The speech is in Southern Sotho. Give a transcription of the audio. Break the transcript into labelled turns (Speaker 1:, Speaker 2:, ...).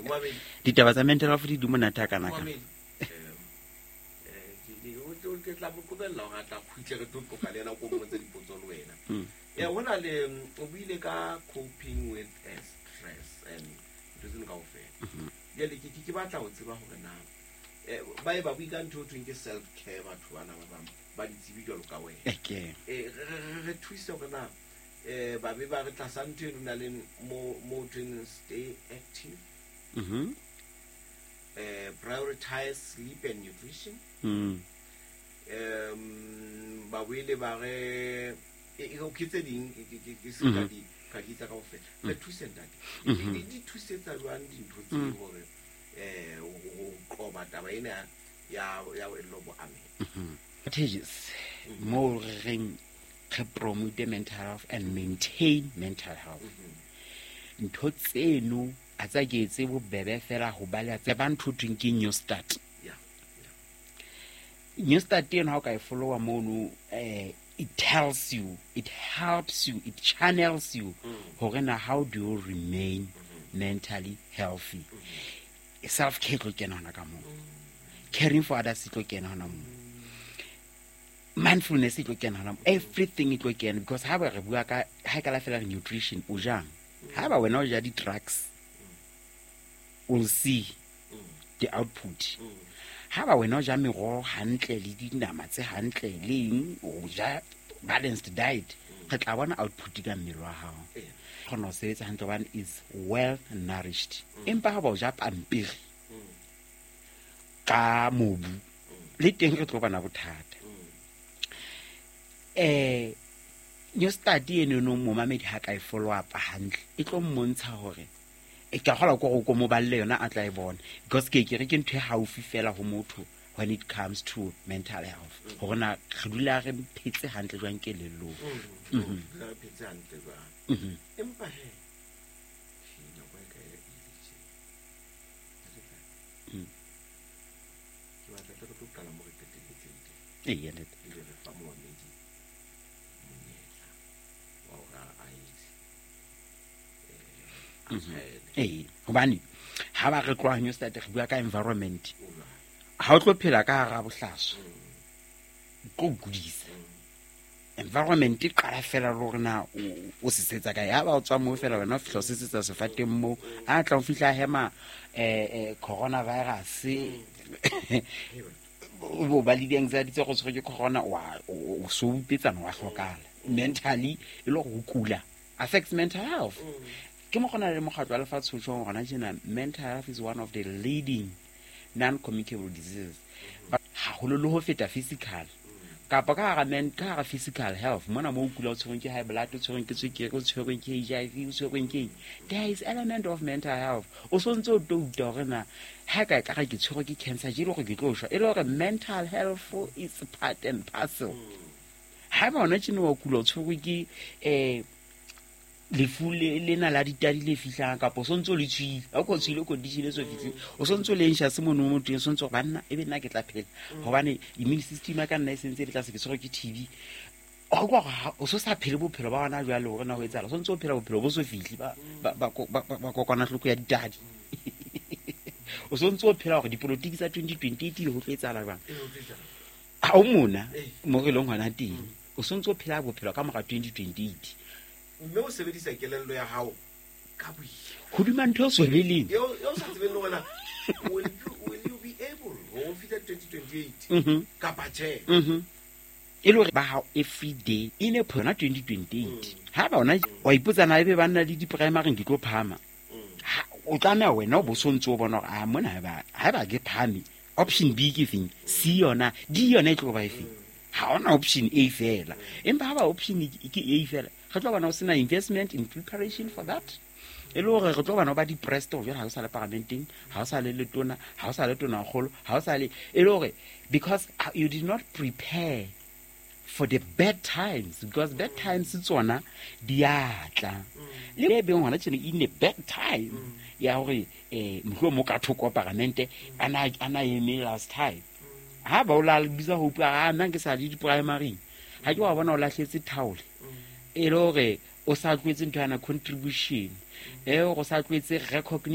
Speaker 1: Momamedi.
Speaker 2: Ditaba tsa mental health di monate ha kana kana.
Speaker 1: Momamedi. Ke tla mo qobella hore a tla kgutle, re tlo qoqa le yena, ko mmotse dipotso le wena. Ho na le o buile ka coping with stress and ntho tseno kaofela. Jwale ke batla ho tseba hore na ba e ba bui ka ntho e thweng ke self care, batho bana ba bang ba ditsebi jwalo ka wena. Re thuse hore na ba be ba re tlasa ntho eno na le mo thweng stay active, prioritize sleep and nutrition, ba boele ba re ke tse ding ke se ka di ka di tsa kaofela. Re thuse, ntate, di thusetsa jwang dintho tse hore ho qoba taba ena ya boello bo ameha?
Speaker 2: Strategies mo re reng re promote mental health and maintain mental health, ntho tseno a tsa ke etse bobebe fela ho ba le ba ntho thweng ke new start. New start eno, ha o ka e followa mono, it tells you, it helps you, it channels you hore na how do you remain mentally healthy. Self care tlo kena hona ka moo, caring for others e tlo kena hona moo, mindfulness e tlo kena hona moo, everything e tlo kena, because ha ba re bua ka ha e ka la fela re nutrition o jang, ha ba wena o ja di-drugs, we'll see the output. Ha ba wena o ja meroho hantle le dinama tse hantle le eng, o ja balanced diet, re tla bona output ka mmele wa hao, kgona ho sebetsa hantle hobane is well nourished. Empa ha ba o ja pampiri ka mobu, le teng re tlo bana bothata. New start eno, momamedi ha ka e follow up hantle, e tlo mmontsha hore e ka kgola ko go ko mo balle yona, a tla e bona, because ke re ke ntho e haufi fela ho motho when it comes to mental health, hore na re dula re phetse hantle jwang kelellong.
Speaker 1: Re phetse hantle jwang. Empa he, nako e ka e ile tje. Ke batla tle re tlo qala mo re qetelletseng teng.
Speaker 2: Eya, ntate.
Speaker 1: Ebe re fa momamedi monyetla wa hore a etse, a tshwaele.
Speaker 2: Ee, hobane ha ba re tloha new start, re bua ka environment.
Speaker 1: O jwang?
Speaker 2: Ha o tlo phela ka hara bohlaswa, o tlo kudisa. Environment e qala fela le hore na o sesetsa kae. Ha ba o tswa moo fela, wena o fihla o sesetsa sefateng moo, a tla o fihla hema coronavirus, o ba le di-anxiety tse go tshwerwe ke corona, o so upetsana, wa hlokala mentally, e le gore go kula affects mental health. Ke mo gona le mokgatlo wa lefatshe o tjhong gona tjena, mental health is one of the leading non-communicable diseases, but haholo le ho feta physical, kapa ka hara physical health mona mo o kula, o tshwerweng ke high blood, o tshwerweng ke tswekere, o tshwerweng ke HIV, o tshwerweng ke eng, there is element of mental health. O so ntse o touta hore na ha ka ka re ke tshwerwe ke cancer je, e le hore ke tlo shwa, e le hore mental health is part and parcel. Ha ba hona tjena wa kula, o tshwerwe ke lefu lena la ditadi le fihlang, kapa o sontse o le tshwile, ha o ko tshwile condition e so fihlile, o sontse o le anxious mono mo teng, sontse gore banna e be nna ke tla phela, hobane immune system ya ka nna e sentse e le tlase, ke tshwerwe ke TB. O kwa o so sa phele bophelo ba hona jwale, hore na ho etsahala, o sontse o phela bophelo bo so fihle ba kokwanahloko ya ditadi, o sontse o phela hore dipolotiki tsa 2028 ho tlo etsahala jwang. Ha o mona mo re leng hona teng, o sontse o phela bophelo ka mora 2028.
Speaker 1: Mme o sebedisa kelello ya hao ka boima
Speaker 2: hodima ntho e so beleng.
Speaker 1: Eo sa tsebeng le hore will you be able ho fihla 2028 kapa tjhe.
Speaker 2: E le hore ba hao every day e ne yona 2028, ha ba ona wa ipotsa na ebe ba nna le di-primary ke tlo phahama. O tlameha wena o bo sontse o bona hore a mona haeba ke phahame, option B ke feng, C yona, D yona e tlo ba e feng. Ha ona option A fela, empa ha ba option ke A fela, re tlo bona o sena investment in preparation for that, e le hore re tlo bona o ba depressed hore jwale ha o sa le paramenteng, ha o sa le letona, ha o sa le tonakgolo, ha o sa le, e le hore because you did not prepare for the bad times, because bad times tsona di a tla. Le beng hona tjena in a bad time ya hore mohlomong ka thoko paramente ana eme last time, ha ba o la bitsa ho bua, a nna ke sa le di-primary, ha ke wa bona o lahletse thaole, e le hore o sa tlohetse ntho yana contribution e o sa tlohetse recognition.